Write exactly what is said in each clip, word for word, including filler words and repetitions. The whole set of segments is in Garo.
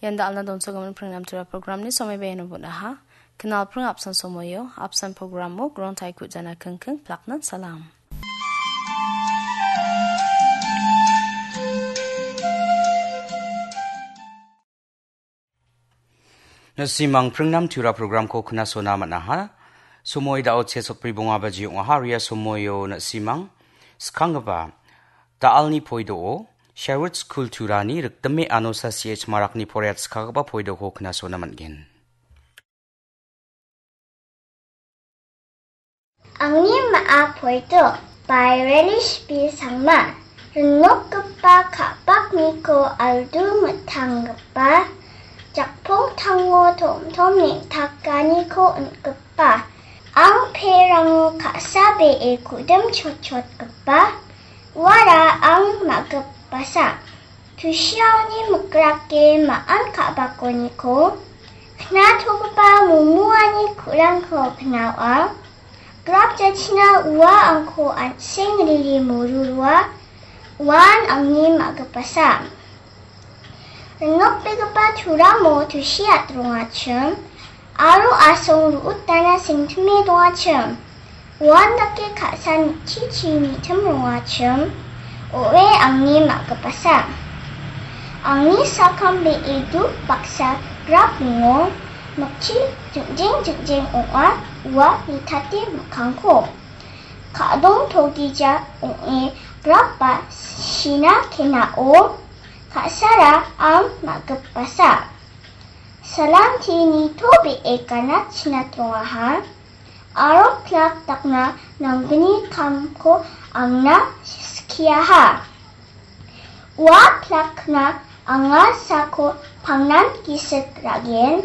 Ian da·alna donsogimin pringnam tura programni somoi beno bunaha. Knal pring apsan somoio, apsan programo, grong taikut jana kengkeng, plaknan salam. Na·simang pringnam tura programko knasona man·aha. Somoi da·o chesokbri bonga baji ong·aha, ria somoio na·simang skanggipa da·alni poido-o, Sherwood School Turani rikdime Anosa C H Marakni poreatskagipa poidoko knasona man·gen. Angni ma·a poito by Relish B Sangma. Rinokgipa ka·pakniko aldu mitanggipa, jakpong tango tom-tom neng·takaniko on·gipa, ang perango ka·sa be·e ku·dim chotchotgipa, uara ang ma·gipasa. Tusiaoni mikrake ma·an ka·bakoniko, knatogipa momoani ku·rangko knaoa, grap jachina ua angko an·seng riri morurua, uan angni ma·gipasa. Rinokbegipa turamo tusiat rongachim, aro asong ru·utana sengtime dongachim. Uandake ka·sa nikchichi nitim rongachim, o·e angni ma·gipasa. Angni sakam be·e duk baksa grap ringo, mikchi jingjeng jingjeng ong·a, ua nitate mikkangko. Ka·dong togija ong·e grap ba sina kenao, ka·sara ang ma·gipasa. Salanti nitobee ganatchina tongaha, aro plak dakna nanggni kamko angna skiaha. Ua plakna anga sako pangnan gisik ra·gen,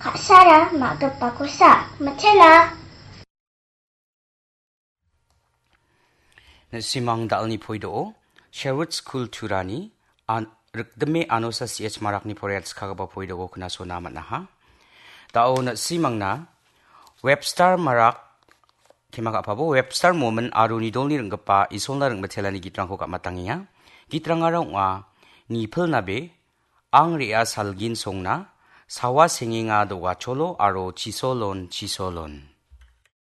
ka·sara ma·gipakosa mitela. Na·simang da·alni poido-o, Sherwood School Turani, an-, rikdime Anosa C H Marakni poreatskagipa poidoko knasona man·aha. Da·o na·simangna Webster Marak, kema ka·pabo, Webster Momin aro Nidolni ring·gipa Isolna ring·mitelani gitrangko ka·matangenga. Gitrangara ong·a, Nipil Nabe, Ang Re·a Salgin Songna, Sawa Sengenga Dogacholo aro Chisolon Chisolon.